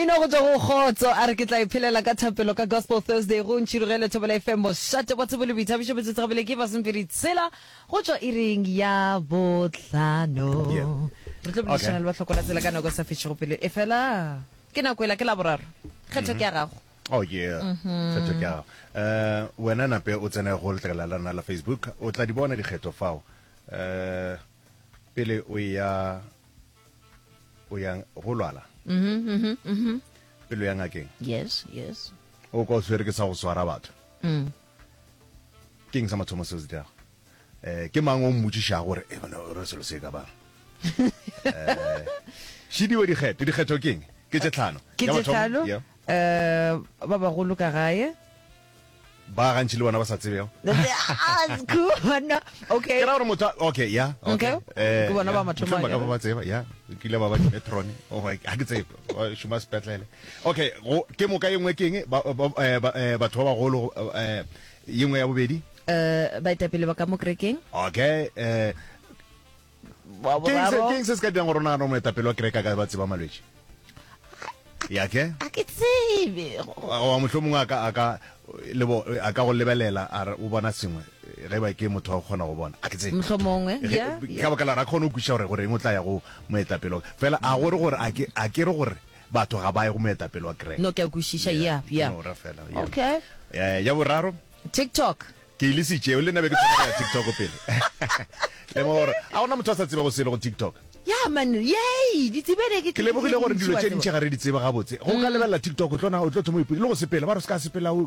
Mmino go tšwa go Kgotso a re ke tla iphelela ka thapelo ka Gospel Thursday go Ntšhirogele Thobela FM mošate wa tsebo le boithabišo metsotso gabele ke masomepedi tshela go tšwa iring ya bohlano. Yeah. Re tlo boledišana le bahloko la tsela ka nako e sa fetšego pelo e fela ke nako ela ke laboraro kgetho ke ya gago. Oh yeah. Kgetho ke ya gago. Eh wena nape o tsene go letlakala la rena la Facebook o tla di bona dikgetho fao. Eh pele o ya o yang go lwala mm -hmm, mm -hmm. pelo ya ngakeng yes yes o kwa o tshwere ke sa go swara batho mm. ke eng sa mathomo seo se dirago um ke mang o mmotšišago gore e bana re selo se ka bang um šidiwe dikgetho dikgetho ke eng ke tše tlhano ke tše tlhano um ba bagolo ka gae Ba gantši le bona ba sa tsebego. Okay. Ke ra gore motho okay, yeah, okay. Eh, ke bona ba mathomo. Ba ka ba tseba, yeah. Ke ile ba ba metron. Oh, ha ke tsebe. Ba šoma sepetlele. Okay, go ke moka ye nngwe ke eng? Ba eh, eh, batho ba bagolo eh ye nngwe ya bobedi? Eh, baetapele ba ka mo kerekeng. Okay, eh Ke eng se se ka dirang gore o nagane gore moetapele wa kereke a ka ba tseba malwetši? Ya ke? A ke tsebe. Goba mohlomongwe a ka, a ka, lebo, a ka go lebelela a re o bona sengwe, ge ba ke motho wa go kgona go bona. A ke tsebe. Mohlomongwe, ya. Ka baka la gore a kgone go kwešiša gore goreng o tla ya go moetapele wa, fela a gore gore a ke, a ke re gore batho ga ba ye go moetapele wa kereke. No, ke a kwešiša, ya, ya. No, ra fela, ya. Okay. Ya boraro. TikTok. Ke e lesitše, le nna be ke thoma go ya TikTok pele. Lemoga gore a gona motho a sa tsebego selo go TikTok. Ya man, yay, di tsebele ke. Ke lemogile gore dilo tše dintši ga re di tsebe gabotse. Go ka lebelela TikTok o tlo na o tlo thoma o ipotša le go sepela ba re o se ka sepela o o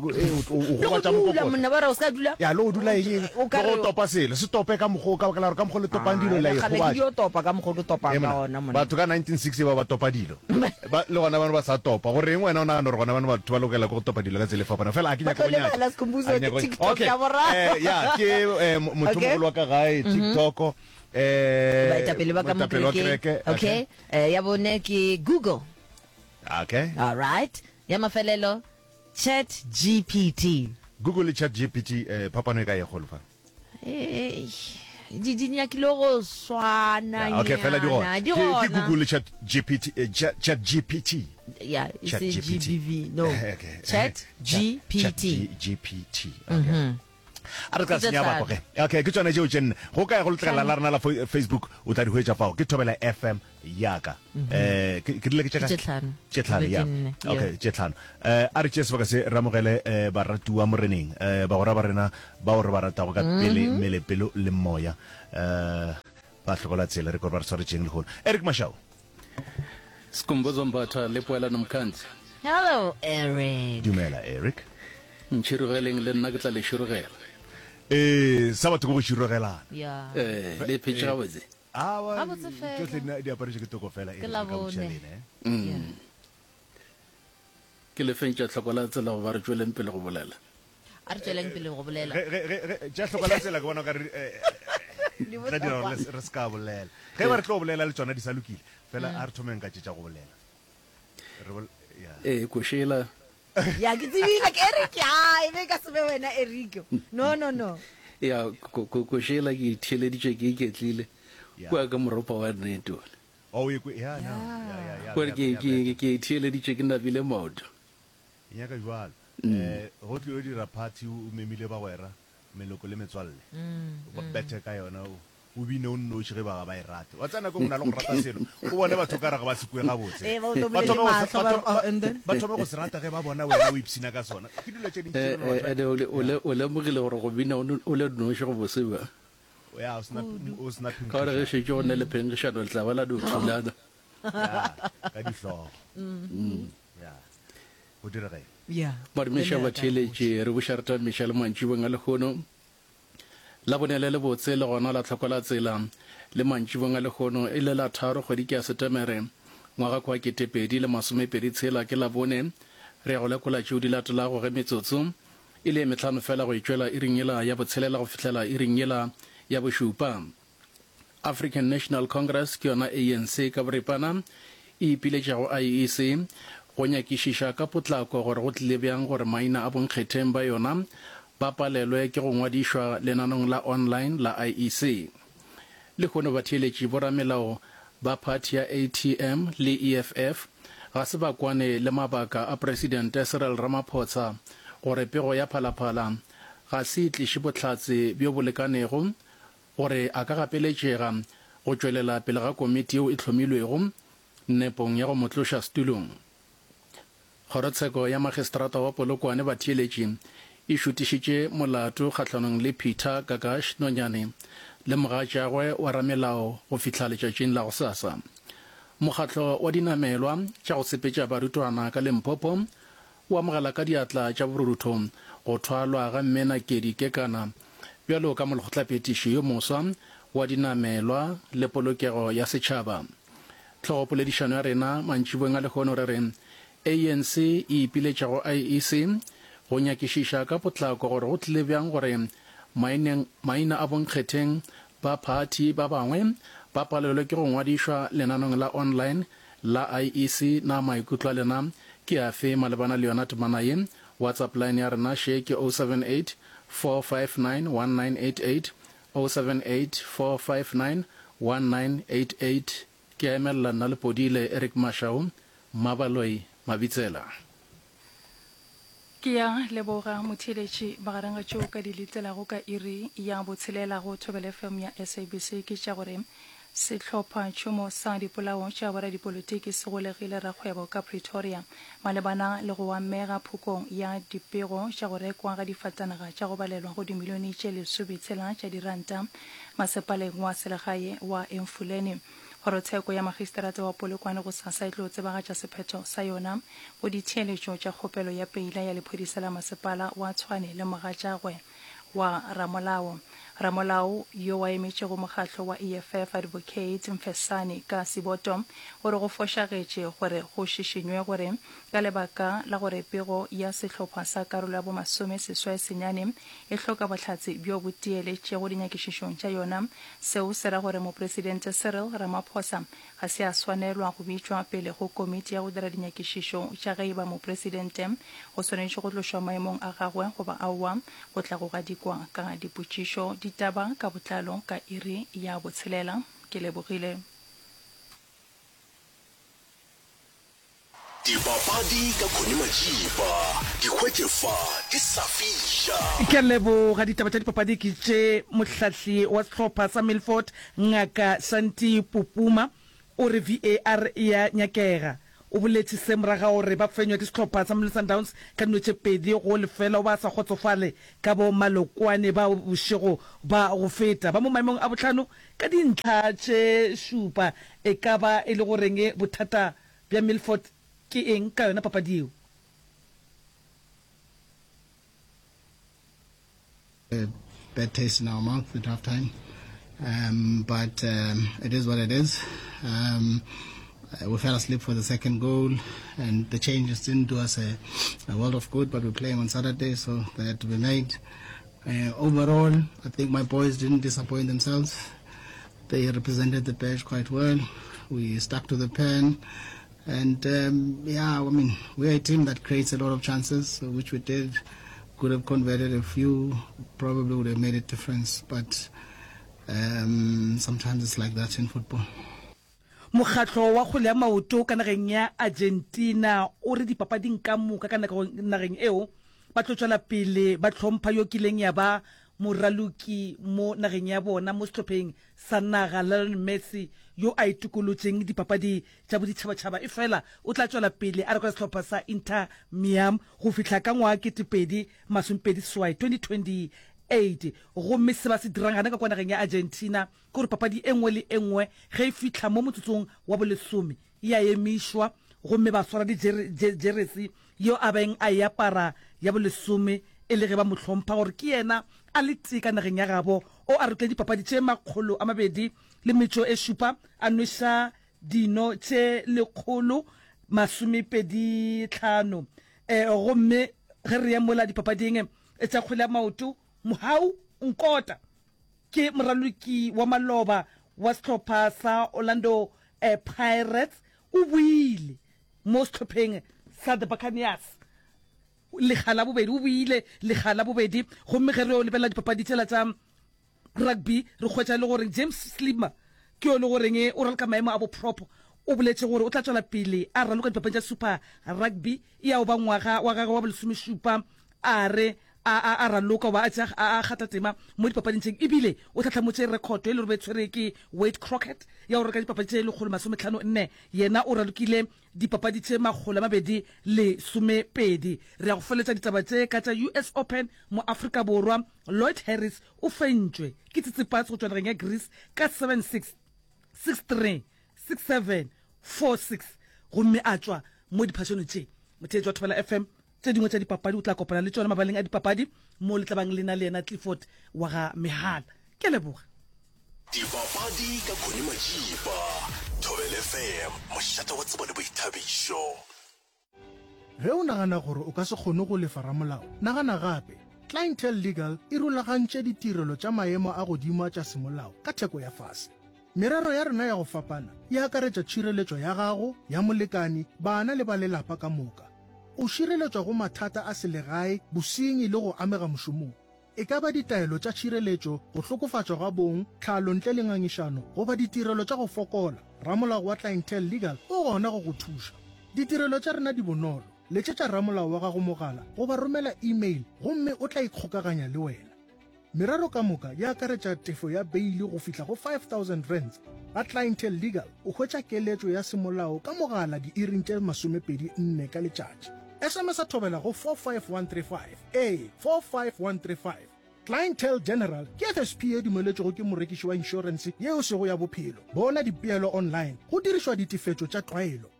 gobatša mokokotlo. Monna ba re o se ka dula. Ya le go dula eng eng. Le go topa selo se tope ka mokgwa o ka baka la gore ka mokgwa le topang dilo le a Kgale ke ikgobatša. dio topa ka mokgwa o ke topang ka gona monna. Batho ka 1960 ba ba topa dilo. Ba, le gona bano ba sa topa. Go reng wena o nagana gore gona bano batho ba lokela ke go topa dilo ka tsela e fapaneng? Fela a ke Ba nyake tlo go nyatša. lebala Skhumbuzo A ke ke nyake go TikTok Okay. ya boraro. Eh, ya, ke eh, mo- motho Okay. mogolo wa ka gae, TikTok. Eh, Baetapele ba ka mo moetapele wa kerekeng. kereke. Okay. Eh, ya bone ke Google. Okay. All right. Ya mafelelo Chat GPT. Google le Chat GPT eh, phapano e ka ye kgolo fa? Eish, di di nyakile go swana Yeah, okay, fela di gona. nyana. Di Ke, ke gona. Google le Chat GPT, eh, Chat, Chat GPT. Yeah, e Chat se GPT. GBV, no. Okay. Chat Chat GPT. G, GPT. Okay. A re tla Ke tše senya bako tlhano. ge. Okay, ke tšona tšeo tše nne. Go kae go letlakala Tlhano. la rena la fo- Facebook o tla di hwetša fao. Ke Thobela FM ya ka. Eh, ke ke rile ke tše Ke kae? tše tlhano. Tše tlhano, Ke ya. nne, yeah. Okay, tše tlhano. Eh, a re tšee sebaka se re amogele eh, baratuwa Moreneng, eh, bagwera ba rena bao re ba ratago ka pele, mmele, pelo le moya. Eh, ba hlokola tsela, re kore ba re swaretšeng lehono. Eric Mashau. Skhumbuzo Mbatha le Poelano Mkhanzi. Hello, Eric. Dumela, Eric. Ntšhirogeleng le nna ke tla le širogela. Ee, sa batho ke go širogelana. Yeah. Eh, le phetše gabotse. Awa, Gabotse fela. tšohle di di aparetšwe ke toko fela, Ke Eric, re ka botšiša Labone. lena, eh. Yeah. Ke le feng tša hloko la tsela goba re tšweleng pele go bolela? A re tšweleng pele go bolela. Ge, ge, ge, ge, tša hloko la tsela ke bona o ka re, eh, Di tla dira gore bohlokwa. le- re se ka bolela. Ge ba re tlo bolela le tšona di sa lokile, fela a re thomeng ka tše tša go bolela. Re bol, ya. Ee, košela. Ya, ke tsebile ke Eric, a e be e ka se be wena Eric. No, no, no. Ya, ko, ko, košela ke itheeleditše ke iketlile Ya. kua ka moropa wa nnete ole. Oh, o e kwe, ya, no. Ya, ya, ya, Kore ya, ke, ya, ke, better. ke itheeleditše ke nabile maoto. E nyaka bjalo. Eh, go tlilo dira party o memile bagwera, meloko le metswalle. O ba bethe ka yona, o, o bine o nnoši ge ba ga ba e rate. Wa tseba nako e nngwe o na le go rata selo, o bone batho o ka re ga ba se kwe gabotse. Ee, ba o Ba tomolele thome go se, mahlo, ba ba re, thome, oh, ba, and then? ba thome go se rata ge ba bona wena o ipshina ka sona. Ke dilo tše dintši Eh, re no eh, batho ba, ene o le, o ya. le, o lemogile gore go bina o no- o le noši go bose bjang? Ya, o sena, o sena Ka gore ge phenkgišano. šetše go ne le phenkgišano le tla ba la no thulana. Ya, ka dihlogo. Ya. Go direga eng? Ya. Badumiša Le nna ka batheeletši, re buša re tamiša le mantšibong a lehono. Labone le lebotse le gona la tlhoko la tsela le mantšibong a lehono e le la tharo kgwedi ke ya Setemere ngwaga kwa 2020 tshela ke Labone. Re ya go lekola tšeo di latelago ge metsotso e le ye mehlano fela go e tšwela iring yela ya botshelela go fihlela iring yela ya bošupa. African National Congress ke yona ANC ka boripana e ipiletša go IEC go nyakišiša ka potlako gore go tlile bjang gore maina a bonkgetheng ba yona ba palelwe ke go ngwadišwa lenanong la online la IEC. Lehono batheeletši boramelao Ba phathi ya ATM le EFF ga se ba kwane le mabaka a Presidente Cyril Ramaphosa gore pego ya Phalaphala ga se e tliše bohlatse bjo bo lekanego gore a ka gapeletšega go tšwelela pele ga komiti yeo e hlomilwego nepong ya go mo tloša setulong. Kgorotsheko ya Magistrata wa Polokwane Batheeletši e šutišitše molato kgahlanong le Peter Gagash Nonyane le mogatšagwe wa ramelao go fihla letšatšing la gosasa. Mokgatlo wa dinamelwa tša go sepetša barutwana ka Limpopo o amogela ka diatla tša borutho go thwalwa ga Mme Nakedi Kekana bjalo ka molekgotlaphethiši yo moswa wa dinamelwa le polokego ya setšhaba. Hlogopoledišano ya rena mantšiboeng a lehono re re ANC e ipiletša go IEC go nyakišiša ka potlako gore go tlile bjang gore maineng maina a bonkgetheng ba phathi ba bangwe ba palelwe ke go ngwadišwa lenanong la online la IEC. Na maikutlo a lena ke afe malebana le yona temana ye? WhatsApp line ya rena še ke 078 459 1988, 078 459 1988. Ke a emelela nna Lepodile Eric Mashau, Mmabaloi Mabitsela. Ke ya leboga motheeletši. Magareng ga tšeo o ka di letelago ka iri ya botshelela go Thobela FM ya SABC ke tša gore Sehlopha tšhomo sa dipolao tša boradipolotiki se golegile rakgwebo ka Pretoria malebana le go amega phokong ya dipego tša go rekwa ga difatanaga tša go balelwa go dimilione tše lesometshela tša diranta masepaleng wa selegae wa Emfuleni. Kgorotsheko ya Magistrata wa Polokwane gosasa e tlo tsebagatša sephetho sa yona go ditheeletšo tša kgopelo ya peila ya lephodisa la masepala wa Tshwane le mogatšagwe wa ramolao. Ramolao yo a emetšego mokgatlo wa EFF Advocate Mfesane ka Siboto o re go fošagetše gore go šišinywe gore ka lebaka la gore pego ya sehlopha sa karolo ya bomasome seswai senyane e hloka bohlatse bjo bo tieletšego dinyakišišong tša yona seo se ra gore Mopresidente Cyril Ramaphosa ga se a swanelwa go bitšwa pele go komiti ya go dira dinyakišišo tša ge e ba mopresidente o swanetše go tlošwa maemong a gagwe goba aowa, go tla go gadikwa ka dipotšišo ditaba ka botlalo ka iri ya botshelela. Ke lebogile. Dipapadi ka Connie Majiba, di hwetše fa di sa fiša. Ke a leboga. Ditaba tša dipapadi ke tše, Mohlahli wa sehlopha sa Milford, Ngaka Shanti Pupuma, o re VAR e a nyakega. O boletše se morago ga gore ba fenywe ke sehlopha sa Mamelodi Sundowns ka dino tše 2-0. O ba sa kgotsofale ka bo malokwane bao bošego ba go feta ba mo maemong a bohlano ka dintlha tše šupa. E ka ba e le goreng bothata bja Milford ke eng ka yona papadi yeo? A bad taste in our mouth at half time. Um, but um, it is what it is. Um, uh, we fell asleep for the second goal, and the changes didn't do us a, a world of good. But we're playing on Saturday, so they had to be made. Uh, overall, I think my boys didn't disappoint themselves. They represented the badge quite well. We stuck to the pen. And um, yeah, I mean, we're a team that creates a lot of chances, which we did. Could have converted a few, probably would have made a difference. But um, sometimes it's like that in football. Mokgatlo wa kgwele ya maoto ka nageng ya Argentina o re dipapading ka moka ka nageng eo ba tlo tšwela pele ba hlompha yo kileng ya ba moraloki mo nageng ya bona mo sehlopheng sa naga Lionel Messi yo a itokolotšeng dipapadi tša boditšhabatšhaba efela o tla tšwela pele a reka sehlopha sa Inter Miam go fihla ka ngwaga 2028, 2028. Gomme se ba se dirang gana ka kwa nageng ya Argentina ke gore papadi e nngwe le e nngwe ge e fihla mo motsotsong wa bolesome e a emišwa gomme ba swara dijeresi yeo a beng a e apara ya bolesome e le ge ba mo hlompha gore ke yena a le tee ka nageng ya gabo o a rutile dipapadi tše 207 a nweša dino tše 125 gomme ge re ya mola dipapading tša kgwele ya maoto Mohau Nkota ke moraloki wa maloba wa sehlopha sa Orlando Pirates o boile mo sehlopheng sa The Buccaneers lekga la bobedi, o boile lekga la bobedi. Gomme ge re yo lebelela dipapadi tšela tša rugby re hwetša e le gore James Slimmer. Ke yo e le goreng o raloka maemo a bo prop, o boletše gore o tla tšwela pele a raloka dipapading tša Super Rugby e ya go ba ngwaga wa gagwe wa bolesomešupa a re a a a raloka goba a tšea a a kgatha tema mo dipapading tše ebile o tlhahlamotše rekhoto e le gore be tshwere ke Wade Crockett ya go raloka dipapadi tše 154 yena o ralokile dipapadi tše 212. Re ya go feletša ditaba tše ka tša US Open mo Afrika Borwa Lloyd Harris o fentšwe ke Tsitsipas go tšwa nageng ya Greece ka 7-6, 6-3, 6-7, 4-6 gomme a tšwa mo diphašano tše. Motheetši wa Thobela FM, tše dingwe tša dipapadi o tla kopana le tšona mabaleng a dipapadi mo le tla bang le na le yena Clifford wa ga Mehala. Ke a leboga. Dipapadi ka Connie Majiba, Thobela FM, mošate wa tsebo le boithabišo. Ge o nagana gore o ka se kgone go lefa ramolao, nagana gape. Clientele Legal e rulagantše ditirelo tša maemo a godimo a tša semolao ka theko ya fase. Merero ya rena ya go fapana e akaretša tšhireletšo ya gago, ya molekani, bana le ba lelapa ka moka. O šireletšwa go mathata a selegae, bosenyi le go amega mošomong. E ka ba ditaelo tša tšhireletšo, go hlokofatšwa ga bong, tlhalo ntle le ngangišano, goba ditirelo tša go fokola, ramolao wa Clientele Legal o gona go go thuša. Ditirelo tša rena di bonolo, letšetša ramolao wa gago mogala goba romela email gomme o tla ikgokaganya le wena. Merero ka moka e akaretša tefo ya beili go fihla go R5000. Ga Clientele Legal o hwetša keletšo ya semolao ka mogala diiring tše 24 ka letšatši. SMS-a thobela go 45135. Ee, 45135. Clientele General ke FSP ye dumeletšwego ke morekiši wa inšorense ye e sego ya bophelo. Bona dipeelo online go dirišwa ditefetšo tša tlwaelo.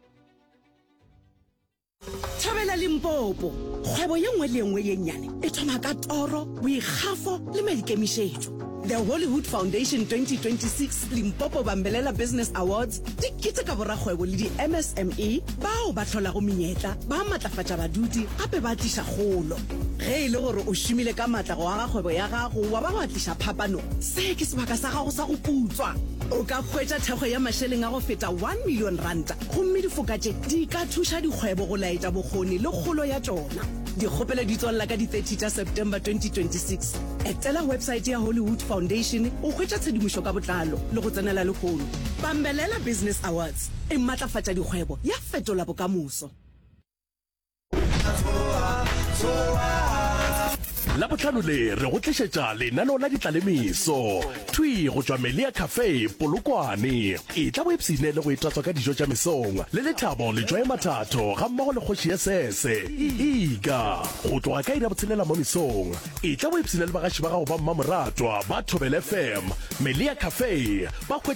Thobela Limpopo, Kgwebo ye nngwe le ye nngwe ye nnyane e thoma ka toro, boikgafo le maikemišetšo. The Hollywood Foundation 2026 Limpopo Bambelela Business Awards di keteka borakgwebo le di-MSME bao ba hlolago menyetla, ba matlafatša badudi gape ba tliša kgolo. Ge e le gore o šomile ka matla go aga kgwebo ya gago wa ba wa tliša phapano, se ke sebaka sa gago sa go putswa. O ka hwetša thekgo ya mašeleng a go feta R1 million gomme difoka tše di ka thuša dikgwebo go laetša bokgoni le kgolo ya tšona. Dikgopelo di tswalela ka di 30 tša September 2026. Etela websaete ya Hollywood Foundation go hwetša tshedimošo ka botlalo le go tsenela lehono. Bambelela Business Awards e matlafatša dikgwebo ya fetola bokamoso. Labohlano le re go tlišetša lenaneo la ditlalemeso thwi go tšwa Melia Cafe, Polokwane. Etla o ipshine le go itatswa ka dijo tša mesong le Lethabo Letšwae Mathatho gammogo le kgoši ya Sese, Ika. Go tloga ka iri ya botshelela mo mesong, etla o ipshine le bagaši ba gago ba mmamoratwa ba Thobela FM, Melia Cafe, ba hwetša.